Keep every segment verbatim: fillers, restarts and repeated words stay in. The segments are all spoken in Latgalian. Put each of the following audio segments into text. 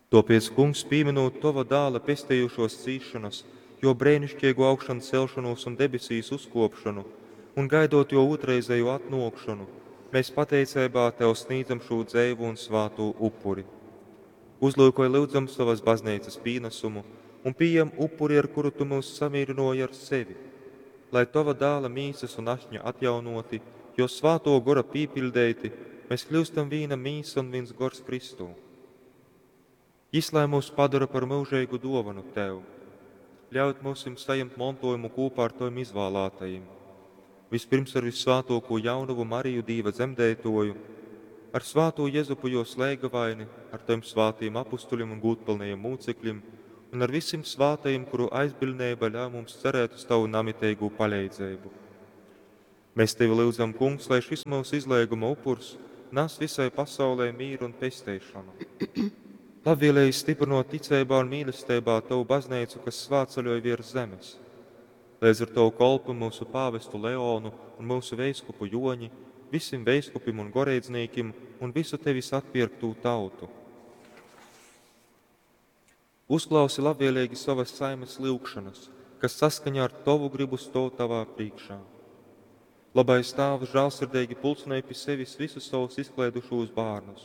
Tōpēc, Kungs, pīmynūt Tova Dāla pestejušōs cīsšonas, Jō breiniškeigū augšancelšonūs un debesīs uzkōpšonu un gaidot Jō ūtrreizejū atnōkšonu, mēs pateiceibā Tev snīdzam šū dzeivū un svātū upuri. Uzlyukoj, lyudzam, sovas Bazneicas pīnasumu un pījem upuri, ar kuru Tu myus samīrynōji ar sevi. Lai Tova Dāla Mīsas un Ašņa atjaunōti, Jō Svātō Gora pīpiļdeiti, mes kļyustam vīna mīsa un vīns gors Kristū. Jys lai myus padora par myužeigu dōvonu Tev. Ļaut myusim sajimt montōjumu kūpā ar Tovim izvālātajim. Vispirms ar vyssvātōkū jaunovu Mariju Dīva dzemdeitōju, ar svātū Jezupu jōs leigavaini, ar Tovim svātajim apustuļim un gūdpylnajim mūcekļim un ar visim svātajim, kuru aizbiļdneiba ļauj mums cerēt uz Tavu namiteigū paleidzeibu. Mēs Tevi lyudzam, Kungs, lai šis mūsu izleiguma upurs nas visai pasaulē mīru un pesteišonu. Labvēlīgi stiprinot ticeibā un mīlesteibā Tavu baznīcu, kas svētceļoj virs zemes. Līdz ar Tavu kolpu mūsu pāvestu Leonu un mūsu veiskupu Joņi, visim veiskupim un goreidznīkim un visu Tevis atpirktū tautu. Uzklausi labvēlīgi savas saimes lyugšanas, kas saskaņā ar Tovu gribu stōv Tavā priekšā. Labais Tāvs žālsirdīgi pulcinēja pi sevis visus savus izklaidušos bērnus,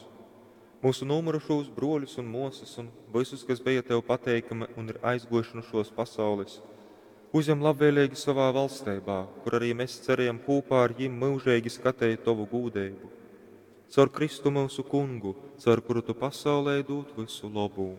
mūsu nomirušos broļus un mosas un visus, kas bija Tev pateikami un ir aizgojuši no šos pasaules. Uzņem labvēlīgi savā valstībā, kur arī mēs cerējam kopā ar jim mūžīgi skatīt Tavu gūdību. Caur Kristu mūsu kungu, caur kuru Tu pasaulē dod visu labu.